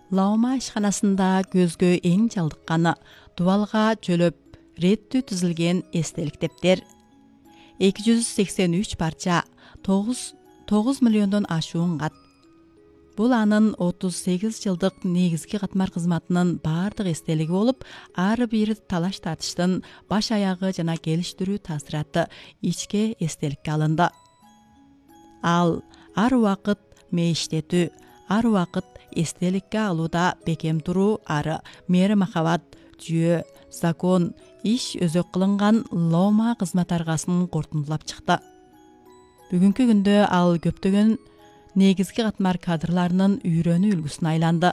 Лаума ишканасында көзгө эң жалдыкканы дубалга жөлөп реттүү түзүлгөн эстелик дептер. 283 парча, 9 миллиондон ашуун кат. Бул анын 38 жылдык негизги катмар кызматынын бардык эстелиги болуп, ар бир талаш тартыштын баш аягы жана келиштирүү таасираты ичке эстеликке алынды. Ал ар убакыт мээштетүү, ар убакыт эстеликке алууда бекем туруу ары мээри махабат, жүйө, закон, иш өзөк кылынган Лаума кызмат аргасын кортундулап чыкты. Бүгүнкү күндө ал көптөгөн негизги катмар кадрларынын үйрөнүү үлгүсүнө айланды.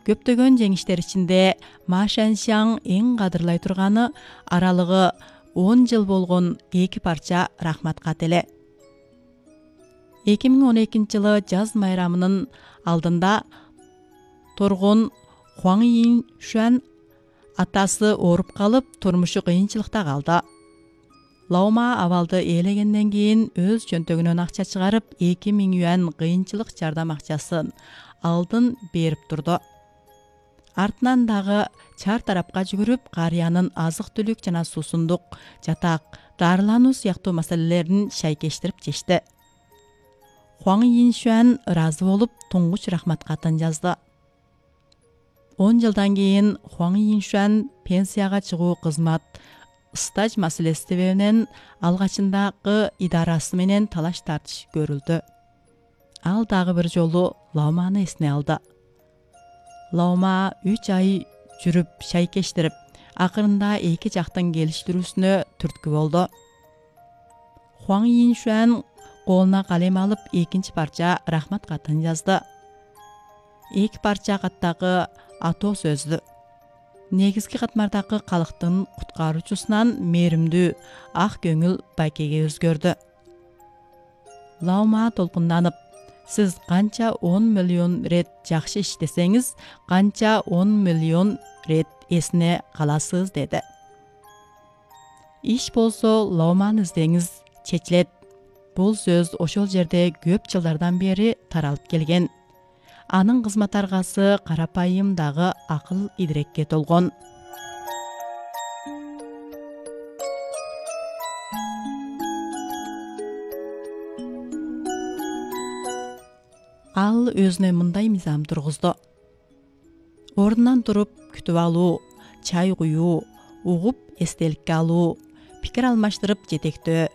Көптөгөн жеңиштер ичинде Ма Шаншаң эң кадырлай турганы аралыгы 10 жыл болгон 2 парча рахмат кат эле. 2012 жылы жаз майрамынын алдында торгон Хуаң Ин Шуан атасы ооруп калып, турмушу кыйынчылыкта калды. Лаума абалды ээлегенден кийин өз чөнтөгүнөн акча чыгарып 2000 юан кыйынчылык жардам акчасын алдын берип турду. Артынан дагы чар тарапка жүгүрүп, карыянын азык-түлүк жана суусундук, жатак, дарылануу сыяктуу маселелерин шайкештирип чечти. Хуаң Ин Шуан ыраазы болуп, туңгуч рахмат катын жазды. 10 жылдан кийин Хуаң Ин Шуан пенсияга чыгуу кызмат стаж маселеси себебинен алгачындагы идарасы менен талаш тартыш көрүлдү. Ал дагы бир жолу Лауманы эсине алды. Лаума 3 ай жүрүп шайкештирип, акырында эки жактын келиштирүүсүнө түрткү болду. Хуаң Ин Шуан колуна калем алып, экинчи парча рахмат катын жазды. 2 парча каттагы атоо сөздү. Негизги катмардагы калктын куткаруучусунан мээримдүү, ак көңүл байкеге өзгөрдү. Лаума толкунданып, сиз канча 10 миллион рет жакшы иштесеңиз, канча 10 миллион рет эсине каласыз деди. Иш болсо Лауманы издеңиз, чечилет. Бул сөз ошол жерде көп жылдардан бери таралып келген. Анын кызмат аргасы карапайым дагы акыл идирекке толгон. Ал өзүнө мындай мыйзам тургузду. Ордунан туруп күтүп алуу, чай куюу, угуп эстеликке алуу, пикир алмаштырып жетектөө,